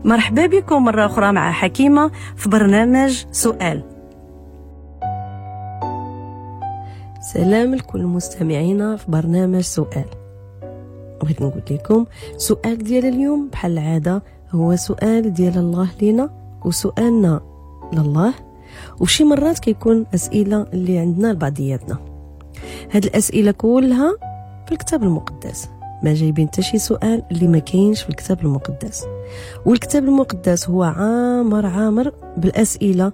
مرحبا بكم مرة أخرى مع حكيمة في برنامج سؤال. سلام لكل مستمعينا في برنامج سؤال. بغيت نقول لكم سؤال ديال اليوم بحال العادة هو سؤال ديال الله لينا وسؤالنا لله، وشي مرات كيكون أسئلة اللي عندنا لبعضياتنا. هاد الأسئلة كلها في الكتاب المقدس، ما جايبين حتى شي سؤال اللي ما كاينش في الكتاب المقدس. والكتاب المقدس هو عامر عامر بالأسئلة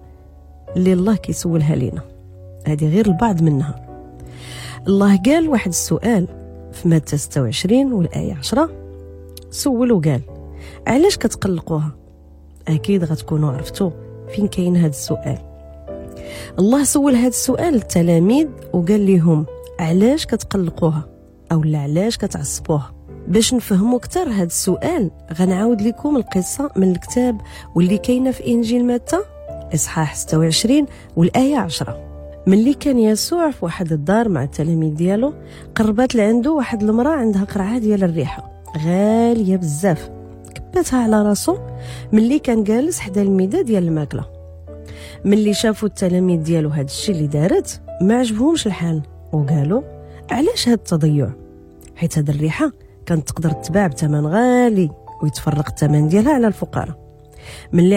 اللي الله كيسولها لينا، هذه غير البعض منها. الله قال واحد السؤال في متى 26 والآية 10، سول وقال علاش كتقلقوها؟ أكيد غتكونوا عرفتوا فين كاين هذا السؤال. الله سول هذا السؤال للتلاميذ وقال لهم علاش كتقلقوها أو لا علاش كتعصبوها. باش نفهموا أكثر هذا السؤال غنعاود لكم القصة من الكتاب واللي كاينة في إنجيل متى إصحاح 26 والآية 10. ملي كان يسوع في واحد الدار مع التلاميذ ديالو، قربت لعنده واحد المرأة عندها قرعة ديال الريحة غالية بزاف، كبتها على راسو ملي كان جالس حدا الميدة ديال الماكلة. ملي شافوا التلاميذ ديالو هاد الشيء اللي دارت ما عجبهمش الحال وقالوا علاش هاد التضيع؟ حيت هاد الريحة كانت تقدر تباع بثمن غالي ويتفرق الثمن ديالها على الفقراء. ملي